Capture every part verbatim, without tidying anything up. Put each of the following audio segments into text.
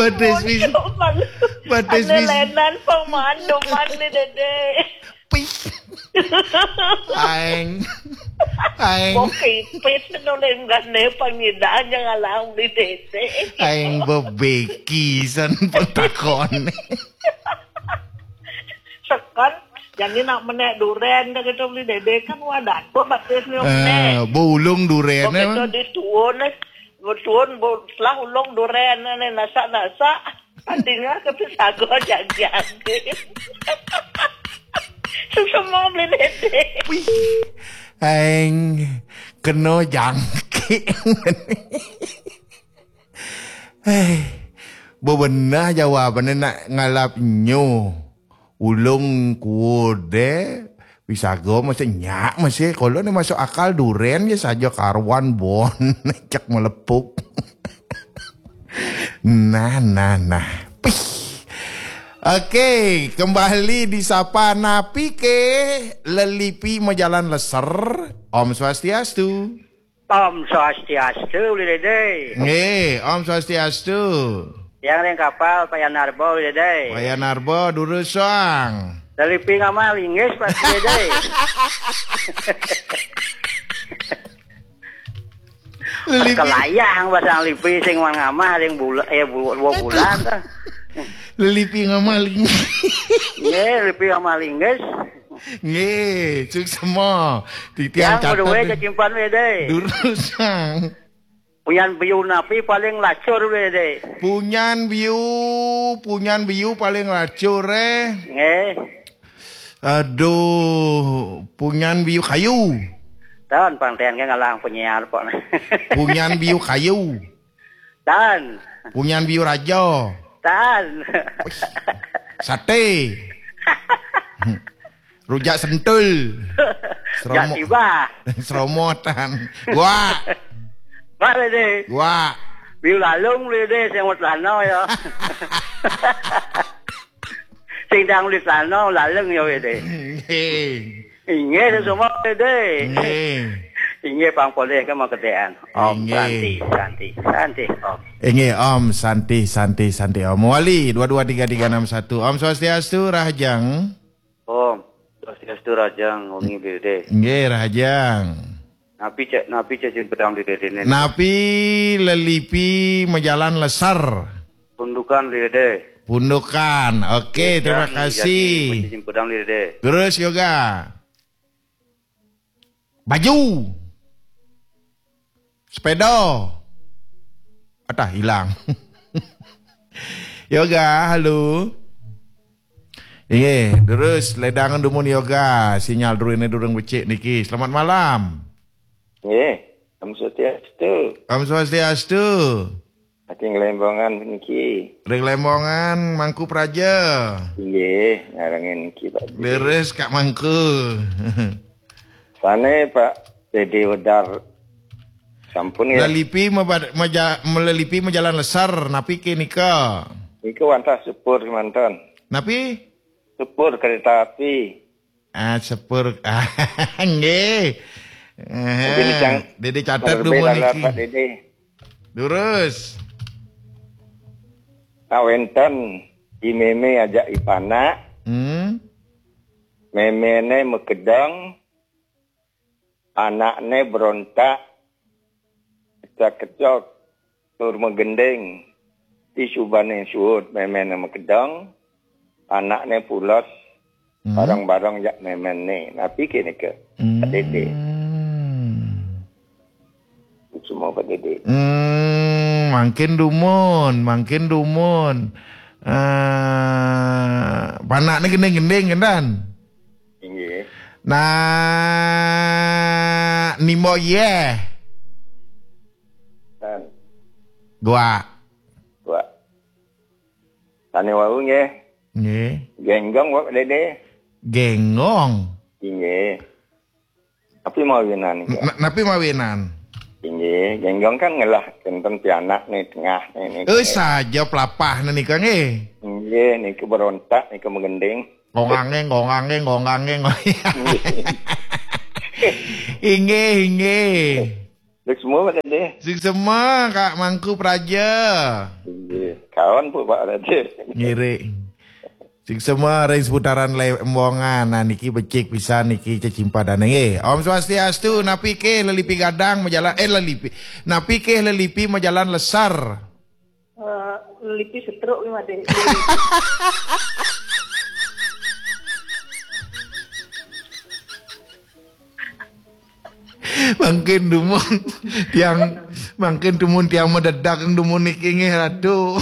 Badis bis. Badis bis. Lenan pang manduman ni Dede. Pih. Aing. Aing. Mau kipit nuling gane pangidan yang alang di Dede. Aing bebeki san petakon. Sekan, jadi nak menek duren dah kita beli Dede kan wadah. Kok batis ni menek. Eh, bulung duren. Kok kita di tuun, eh. Betul, bu-, setelah ulung duren ni nasak-nasak. Artinya ke pisago jagjag. Semua beli Dede. Wih, aing kena jangkik. Eh, bebenah jawabannya nak ngalap nyu. Ulung kude, pisago masih nyak masih. Kalau ni masuk akal duren je saja karuan bon. Cek melepuk. Nah, nah, nah. Pih. Oke, kembali disapa napi ke lelipi majalan leser. Om Swastiastu. Om Swastiastu, Uli Dede. Nggih, Om Swastiastu. Yang ring kapal, Pak Yanarbo, Uli Dede. Pak Yanarbo, durus soang. Lelipi ngamah linggis, Pak Uli Dede. Lelipi. Kelayang pasang lipi sing wan ngamah ring bula-, eh, bu-, dua bulan tuh. Lelipi ngamah linggis. Nggih, lelipi ngamah linggis. Nggih, suksma. Titiang yang catet kedua deh. Cacimpan we deh. Durus, Sang. Punyan biu napi paling lacur we deh. Punyan biu, punyan biu paling lacur, eh. Nggih. Aduh, punyan biu kayu. Tan, pang ten ke ngalang penyiar pok. Punyan biu kayu. Tan. Punyan biu raja. Tan. Wih, sate. Rujak sentul. Seromo-, tiba. Seromotan. Wah. Pak Lede. Wah. Biu lalung Lede, sing mau celana ya. Sing dang di celana, lalung ya, Lede. Nggih. Inggih, semua Lede. Nggih. Inggih, pang polih ke mau kedean. Om Inggih. Santi, Santi, Santi, Om. Inggih, Om Santi, Santi, Santi, Om. Wali, dua dua tiga tiga enam satu. Om Swastiastu, Rahajeng. Om Swastiastu, Rahajeng, wengi Uli Dede. Nggih, Rahajeng. Napi ca-, napi cacing pedang Uli Dede ni? Napi lelipi majalan lesar? Pundukan Uli Dede. Pundukan. Oke, terima kasih. Cacing pedang Uli Dede. Terus yoga. Baju. Sepeda. Atah hilang. Yoga, halo. Inggih, terus ledangan dumun yoga, sinyal durune durung becik niki. Selamat malam. Nggih, Om Swastiastu. Om Swastiastu. Saking Lembongan niki. Ring Lembongan, Mangku Praja. Inggih, ngarengin niki, Pak. Leres, Kak Mangku. Sane, Pak Dede Wedar. Sampun ya. Lelipi meba-, meja-, melelipi majalan lesar, napi ke nika? Nika wantah sepur manten. Napi? Sepur kereta api. Ah, sepur. Nggih. Eh, Dede cang-, Dede catet lebih dumun dalam niki. Pak Dede. Durus. Kawenten i meme ajak i panak. Hmm. Memene makedeng, anakne berontak, kecak-kecok, tur magending. Ti subane suud memene makedeng, anakne pules, hmm, bareng-bareng jak memene. Napi kene ke? Hmm. Dede. Semua Pak Dede. Hmm, mangkin dumun, mangkin dumun. Eh, panakne gending-gending, kendan? Inggih. Nah, nimbo ye. Tan. Gua. Gua. Tane wau nggih. Nggih. Genggong, Pak Dede. Genggong. Inggih. Tapi mawinan niki. Na-, napi mawinan? Inggih, genggong kan ngelah kenten pianak ni tengah ni, ni. Eh, saja pelapah ni nika nggih. Inggih, niki berontak, niki menggending. Gongangeng, gongangeng, gongangeng. Inggih, inggih. Dek semua, Pak Dede. Sing semua, Kak Mangku Praja. Inggih. Kawan pun Pak Raja. Ngiring. Sing semua ring seputaran Lembongan. Nah, niki becik pisan niki cecimpadan. Eh, Om Swastiastu, napi ke lelipi gadang majalan, eh, lelipi. Napi ke lelipi majalan lesar? Eh, lelipi setruk ni, Made. Mangkin dumun tiang, mangkin dumun tiang madedak dumun niki nggih Ratu.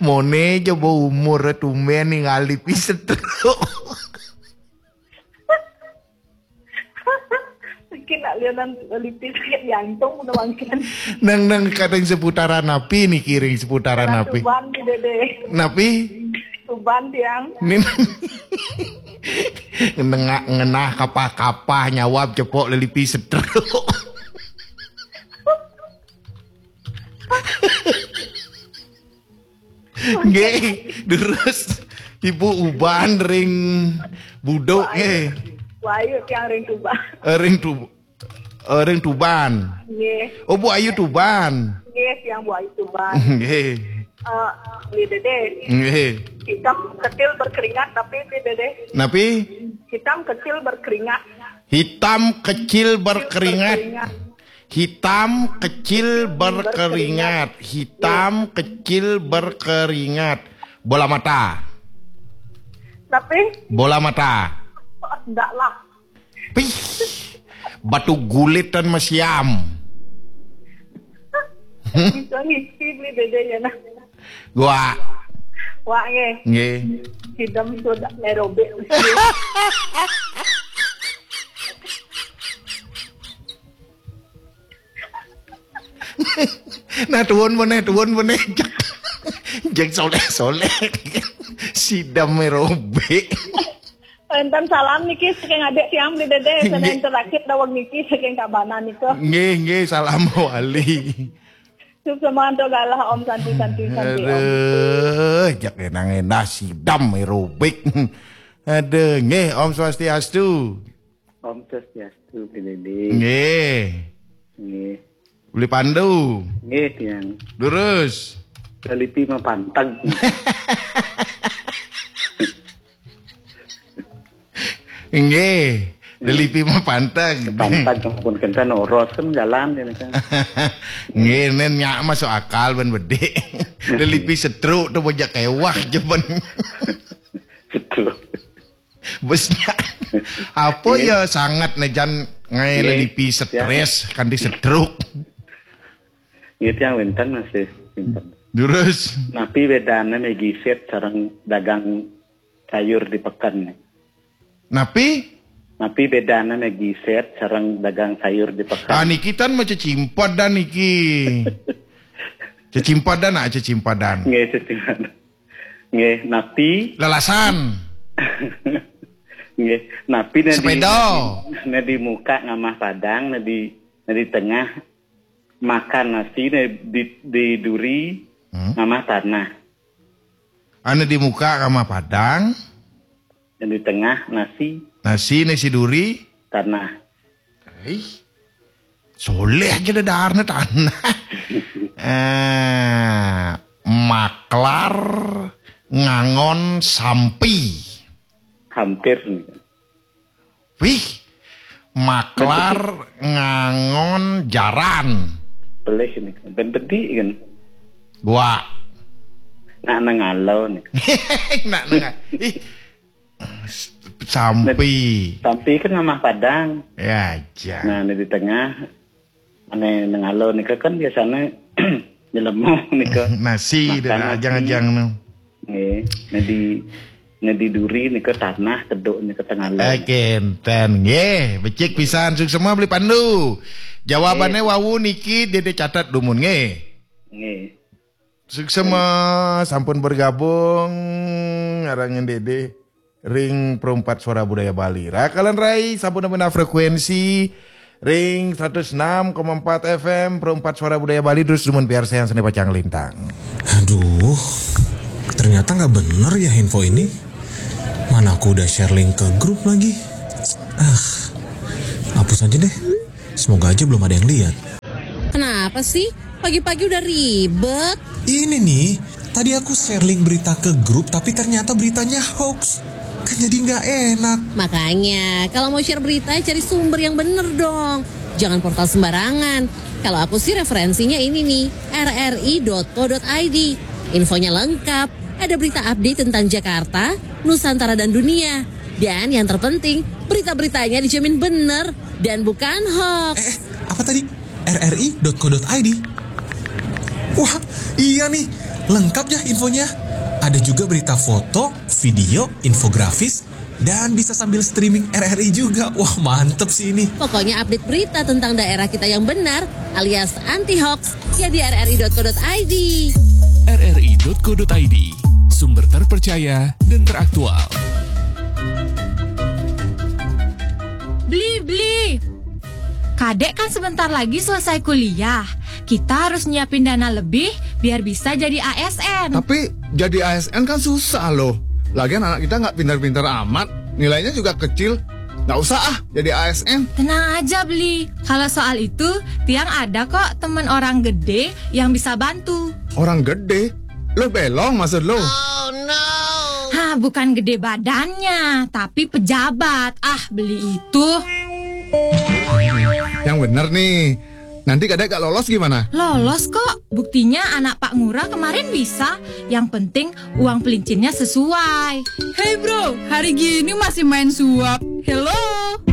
Mone jaba umur tumben ningali pisetruk. Mungkin nak lianan lipis sakit jantung udah mangkin. Nang nang kadang seputaran napi niki ring seputaran napi? Tuban di Dede. Napi? Tuban tiang. Nin. Nengak ngenah kapah-kapah nyawab cepok lelipi setruk. Nggih, terus Ibu Uban ring Buduk nggih. Wahyu tiang ring Tuban. Eh, ring tu eh, ring Tuban. Nggih. Oh, Bu Ayu Tuban. Nggih, tiang Bu Ayu Tuban. Nggih. Eh, Beli Dede. Nggih. Hitam kecil berkeringat tapi Beli Dede. Napi? Hitam kecil berkeringat. Hitam kecil berkeringat. Hitam kecil berkeringat. Hitam kecil berkeringat. Bola mata. Tapi? Bola mata. Enggak lah. Pih. Batu gulit dan mesiam. Bisa ngisi Beli Dede ya nah. Gua. Wak nggih. Nggih. Sidem sudah aerobik. Nah, tuwun meneh, tuwun meneh. Jek, jek soleh-soleh. Sidem aerobik. Enten salam niki saking adik tiang Beli Dede, saking terakhir daweg niki saking Tabanan nika. Nggih, nggih, salam wali. Suksma antuk galah Om, santi, santi, santi, Om. Aduh, jak enang endah sidem aerobik. Aduh, nggih, Om Swastiastu. Om Swastiastu, Beli Dede. Nggih. Nggih. Beli Pandu. Nggih, tiang. Lurus. Lelipi mapanteg. Nggih. Lelipi mapanteg. Panteg ampun kenten oros kan jalan ini kan. Nggih, nen nyak masuk akal ben bedik. Lelipi setruk tu bajak kewah je ben. Setruk. Bes nyak. Apa ya sangat nejan ngai lelipi stres kanti setruk. Nggih, tiang wenten masih wenten. Terus? Napi bedane megiset sareng dagang sayur di peken? Napi? Napi bedane megiset sareng dagang sayur di peken? Ah, niki tan mah cecimpadan niki. Cecimpadan, ah, cecimpadan. Nggih, cecimpadan. Nggih, napi? Lalasan. Nggih, napi ne di, sepeda. Ne di muka ngamah padang, ne di, ne di tengah makan nasi, ne di, di duri ngamah tanah. Anu di muka ngamah padang. Yang di tengah nasi. Nasi ne si duri. Tanah. Ih, soleh aja dah daharnya tanah. Eh, maklar ngangon sampi. Hampir. Wih, maklar ngangon jaran. Pelih ini. Ben bedi kan. Gua. Nak nengalo nih. Nak nengah. Ih, sampi. Sampi kan ngamah padang. Ya aja. Nah, ini di tengah. Ane nengalo nika kan biasanya nyelemu nika. Nasi dah ajang-ajang nu. Nggih, nedi nedi duri nika tanah, teduk nika tengalo. Eh, kenten nggih, becik pisan. Suksma Beli Pandu. Jawabannya wau niki dia catat dumun nggih. Nggih. Suksma sampun bergabung ngarangan Dede ring Perempat Suara Budaya Bali. Rakalan rai sampun nepi frekuensi ring seratus enam koma empat F M Perempat Suara Budaya Bali, terus dumun piarsayang seni pacang lintang. Aduh, ternyata nggak bener ya info ini. Mana aku udah share link ke grup lagi. Ah, hapus aja deh. Semoga aja belum ada yang lihat. Kenapa sih? Pagi-pagi udah ribet. Ini nih, tadi aku share link berita ke grup tapi ternyata beritanya hoax. Kan jadi nggak enak. Makanya, kalau mau share berita, cari sumber yang bener dong. Jangan portal sembarangan. Kalau aku sih referensinya ini nih, rri.co.id. Infonya lengkap, ada berita update tentang Jakarta, Nusantara dan dunia. Dan yang terpenting, berita-beritanya dijamin bener dan bukan hoax. Eh, apa tadi? rri.co.id. Wah, iya nih, lengkap ya infonya. Ada juga berita foto, video, infografis, dan bisa sambil streaming RRI juga. Wah, mantep sih ini. Pokoknya update berita tentang daerah kita yang benar alias anti hoax ya di rri.co.id. rri.co.id. Sumber terpercaya dan teraktual. Beli, beli. Kadek kan sebentar lagi selesai kuliah. Kita harus nyiapin dana lebih biar bisa jadi A S N. Tapi jadi A S N kan susah loh. Lagian anak kita nggak pintar-pintar amat. Nilainya juga kecil. Nggak usah ah jadi A S N. Tenang aja, Beli. Kalau soal itu, Tiang ada kok temen orang gede yang bisa bantu. Orang gede? Lo belong maksud lo? Hah, bukan gede badannya, tapi pejabat. Ah, Beli itu. Yang bener nih. Nanti kadek gak lolos gimana? Lolos kok. Buktinya anak Pak Ngurah kemarin bisa. Yang penting uang pelincinnya sesuai. Hey bro, hari gini masih main suap. Hello.